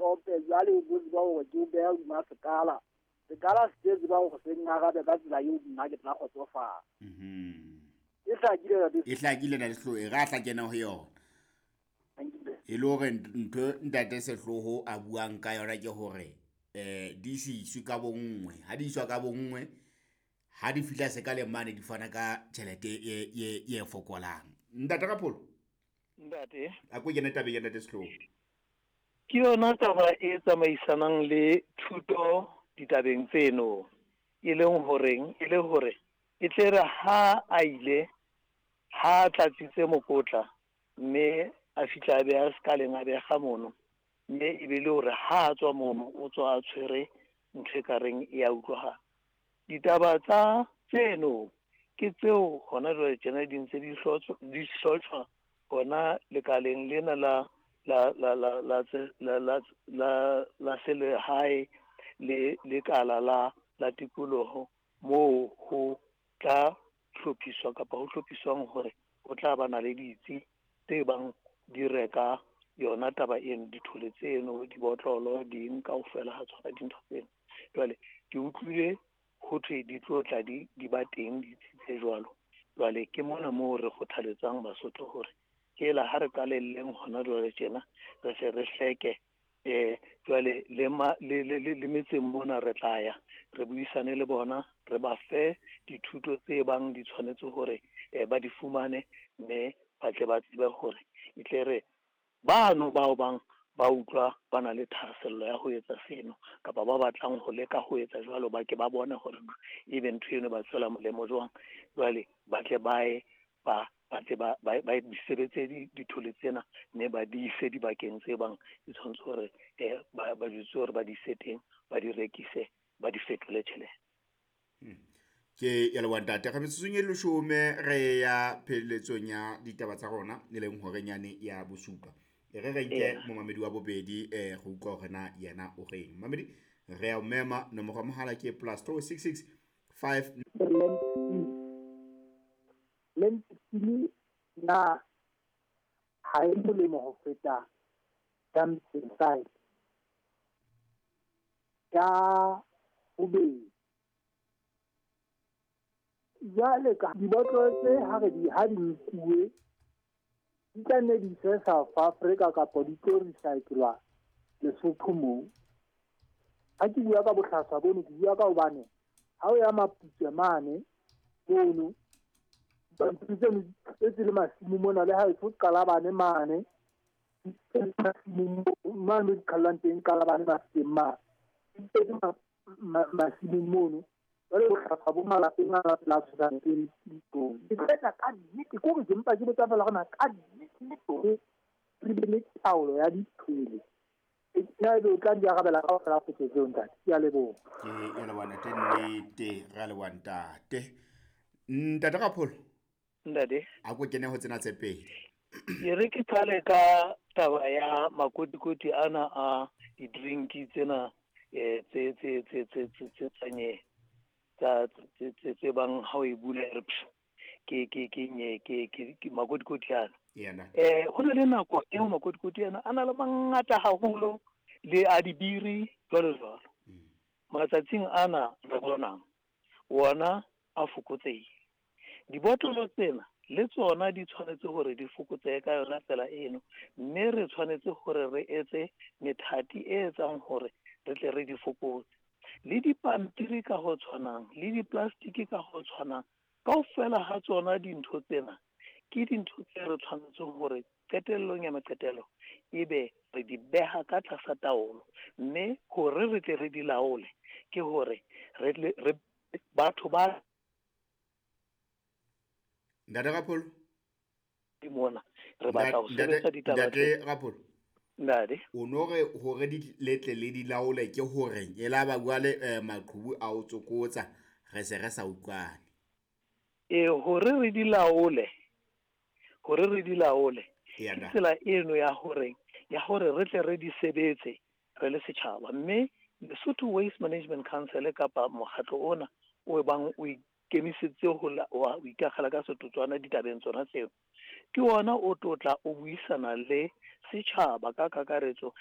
pompe jwale o bo tseba hore ke o beha hodima sekala. Sekala se tse tseba hore se ngarabe ka tsela eo nna ke tla kgotsofala. E hlakile ntate. E hlakile ntate Sehloho, e re a tla kena ho yona. E le hore ntho ntate Sehloho a buang ka yona ke hore di se iswe ka bonngwe. Ha di iswa ka bonngwe, ha di fihla sekaleng mane di fana ka tjhelete e fokolang. Ntate Rapholo. Ntate. A ko kene tabeng ya ntate Sehloho. Ke yona taba e tsamaisanang le thuto ditabeng tseno, e leng horeng e le hore e tle re ha a ile ha a tlatsitse mokotla mme a fihla a beha sekaleng a beha mono, mme e be le hore ha a tswa mono o tswa a tshwere ntho e ka reng e a utlwahala. Ditaba tsa tseno ke tseo hona jwale tjena di ntse di hlotshwa hona lekaleng lena la la la la la la la la la selehae le lekala la la tikoloho moo ho tla hlophiswa kapa ho hlophiswang hore ho tla ba na le ditsi tse bang di reka yona taba eno, dithole tseno, dibotlolo, ding kaofela ha tsona dintho tseno. Jwale ke utlwile ho thwe di tlo tla di ba teng ditsi tse jwalo. Jwale ke mona moo re kgothaletsang Basotho hore ke la ha re qalelleng hona jwale tjena re hle re hleke jwale le le metseng mona re tla ya re buisane le bona, re ba fe dithuto tse bang di tshwanetse hore ba di fumane, mme ba tle ba tsebe hore e tle re bano bao bang ba utlwa ba na le thahasello ya ho etsa seno kapa ba batlang ho leka ho etsa jwalo, ba ke ba bone hore ebe ntho eno ba tswela molemo jwang. Jwale ba tle ba ye ba tle ba di sebetse dithole tsena mme ba di ise dibakeng tse bang di tshwanetse hore ba jwetse hore ba di ise teng, ba di rekise, ba di fetole tjhelete. Ke ya leboha ntate. Re metsotsong e leshome re ya pheletsong ya ditaba tsa rona, e leng horeng yane ya bosupa. E re re nke momamedi wa bobedi go utlwa hore na yena o reng. Momamedi, re ya o mema, nomoro ya mohala ke +266 5 Lentile na ha e molemo ho feta dumping site ya bobedi. Jwale ka dibotlolo tse ha re di ha di nkuwe di tla nne di iswe South Africa kapa di tlo recyclwa Lesotho moo. Ha ke bua ka bohlaswa bono, ke bua ka hobane ha o ya Maputswe mane mono dipampiri tseno di tletse le masimo mona, le ha eso Qalabane mane di tletse masimong mane di qhallwang teng Qalabane mafikeng mane di tletse masimong mono. Jwale bohlaswa bo malapeng a la tshosang teng ditlong. Ke tla ka nnete, ke hore ke mpa ke botsa fela hore na ka nnete re be le taolo ya dithole. Na ebe o tla di arabela kaofela potso tseo ntate. Ke a leboha. Ke ya leboha ntate, nnete re a leboha ntate. Ntate Rapholo. Ntate. A ko kene ho tsena tse pedi. Ke re ke qale ka taba ya makotikoti ana a di-drink tsena tse tse tse tse tse tse tsanye tsa tse tse bang ha o e bula e re psh, ke ke ke nye ke ke ke makotikoti ana. Yena. Ho na le nako eo makotikoti ana a na le mangata haholo le a dibiri jwalo jwalo. Matsatsing ana re bonang wona a fokotsehile. Dibotlolo tsena le tsona di tshwanetse hore di fokotsehe ka yona tsela eno, mme re tshwanetse hore re etse methati e etsang hore re tle re di fokotse. Le dipampiri ka ho tshwanang, le di-plastic ka ho tshwanang, kaofela ha tsona dintho tsena ke dintho tse re tshwanetseng hore qetellong ya maqetelo ebe re di beha ka tlasa taolo, mme hore re tle re di laole ke hore re re batho ba Ntate Rapholo. Mona re batla ho sebetsa ditaba. Ntate Rapholo. Ntate. O no re hore di letle le di laole ke hore e la ba bua le maqhubu a o tsokotsa re se re sa utlwane. Hore re di laole, hore re di laole. Ke tsela eno ya hore re tle re di sebetse re le setjhaba, mme Lesotho Waste Management Council kapa mokgatlo ona o bang o ikemisetse ho ikakgela ka setotswana ditabeng tsona tseo, ke ona o tlotla o buisana le setjhaba ka kakaretso.